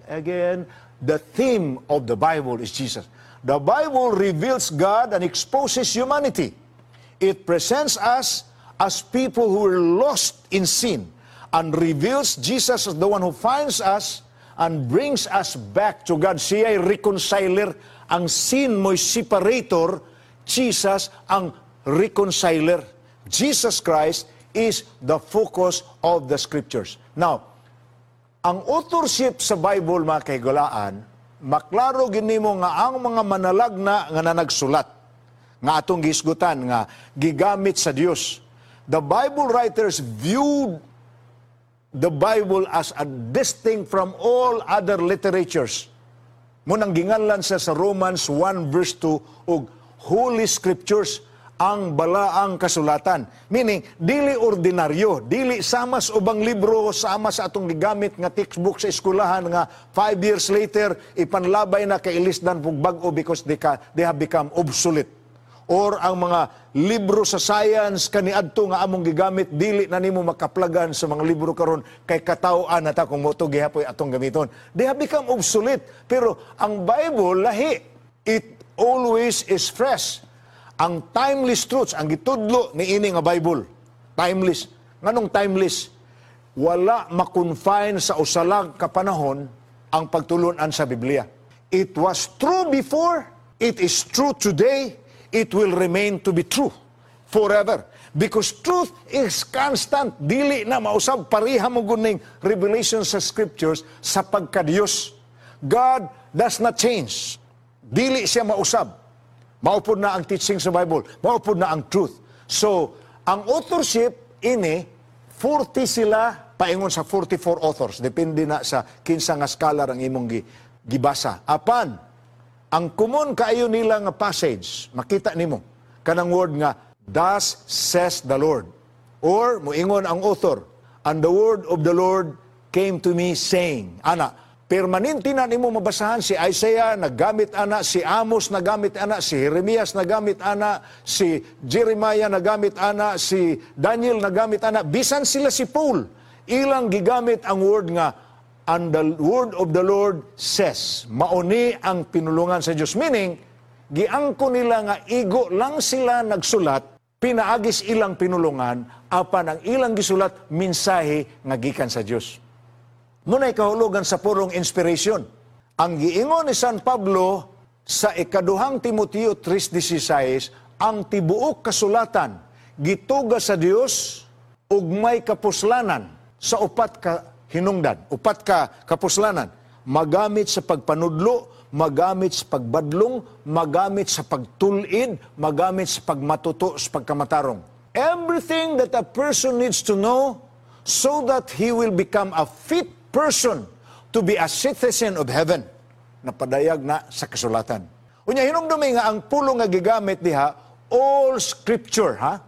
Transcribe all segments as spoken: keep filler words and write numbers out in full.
Again, the theme of the Bible is Jesus. The Bible reveals God and exposes humanity. It presents us as people who are lost in sin and reveals Jesus as the one who finds us and brings us back to God. Siya ay reconciler. Ang sin mo'y separator. Jesus ang reconciler. Jesus Christ is the focus of the Scriptures. Now, ang authorship sa Bible, mga kahigalaan, maklaro gyud nimo nga ang mga manalagna nga nanagsulat, nga atong gihisgutan nga gigamit sa Dios. The Bible writers viewed the Bible as a distinct from all other literatures. Mao nang ginganlan sa sa Romans one verse two og Holy Scriptures, ang balaang kasulatan. Meaning, dili ordinaryo, dili sama sa ubang libro, sama sa atong gigamit nga textbook sa eskwelahan nga five years later, ipanlabay na kay ilisdan pug bag-o because they, ka, they have become obsolete. Or ang mga libro sa science kaniadto nga among gigamit, dili na nimo makaplagan sa mga libro karon kay kataw-an na ta kung mao to gihapoy atong gamiton. They have become obsolete. Pero ang Bible lahi. It always is fresh. Ang timeless truths ang gitudlo ni ini nga Bible. Timeless. Nganong timeless? Wala ma-confine sa usa lang ka panahon ang pagtulunan sa Biblia. It was true before, it is true today, it will remain to be true forever. Because truth is constant. Dili na mausab, pareha man gud ning revelation sa Scriptures sa pagkadiyos. God does not change. Dili siya mausab. Mao pod na ang teaching sa Bible. Mao pod na ang truth. So, ang authorship ini, forty sila paingon sa forty-four authors. Depende na sa kinsa nga scholar ang imong gi, gibasa. Apan, ang common kaayo nila nga passage, makita nimo, kanang word nga, "Thus says the Lord." Or, muingon ang author, "And the word of the Lord came to me saying," ana, permanente na nimo mabasahan. Si Isaiah naggamit ana, si Amos nagamit ana, si Jeremias nagamit ana, si Jeremiah nagamit ana, si Daniel nagamit ana, bisan sila si Paul, ilang gigamit ang word nga "And the word of the Lord says." Mao ni ang pinulungan sa Dios. Meaning, giangko nila nga igo lang sila nagsulat, pinaagis ilang pinulungan, apan ang ilang gisulat, mensahe nga gikan sa Dios. Mao nay kahulugan sa purong inspiration. Ang giingon ni San Pablo sa ikaduhang Timoteo three sixteen, ang tibuok kasulatan gituga sa Dios ug may kapuslanan sa upat ka hinungdan, upat ka kapuslanan: magamit sa pagpanudlo, magamit sa pagbadlong, magamit sa pagtulid, magamit sa pagmatuto sa pagkamatarong. Everything that a person needs to know so that he will become a fit person to be a citizen of heaven, napadayag na sa kasulatan. Unya hinumdumi nga ang pulong nga gigamit diha, all Scripture, ha?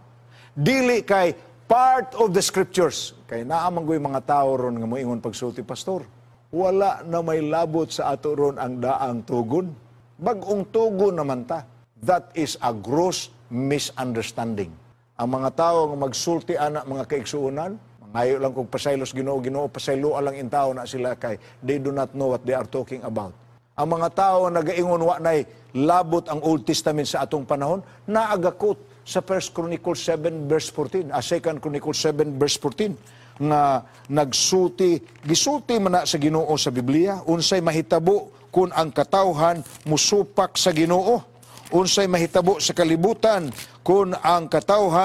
Dili kay part of the Scriptures. Kay naa man goy mga tao ron nga moingon pagsulti, "Pastor, wala na may labot sa ato ron ang daang tugon. Bag-ong tugon naman ta." That is a gross misunderstanding. Ang mga tao nga magsulti ana, mga kaigsuonan, mangayo lang kung pasaylos Ginoo, Ginoo, pasaylo lang intao na sila kay they do not know what they are talking about. Ang mga tao nga nagaingon wa nay labot ang Old Testament sa atong panahon, naagakot sa First Chronicles seven verse fourteen, ah, Second Chronicles seven verse fourteen nga nagsulti, gisulti man na sa Ginoo sa Biblia unsay mahitabo kung ang katawhan musupak sa Ginoo, unsay mahitabo sa kalibutan kung ang katawhan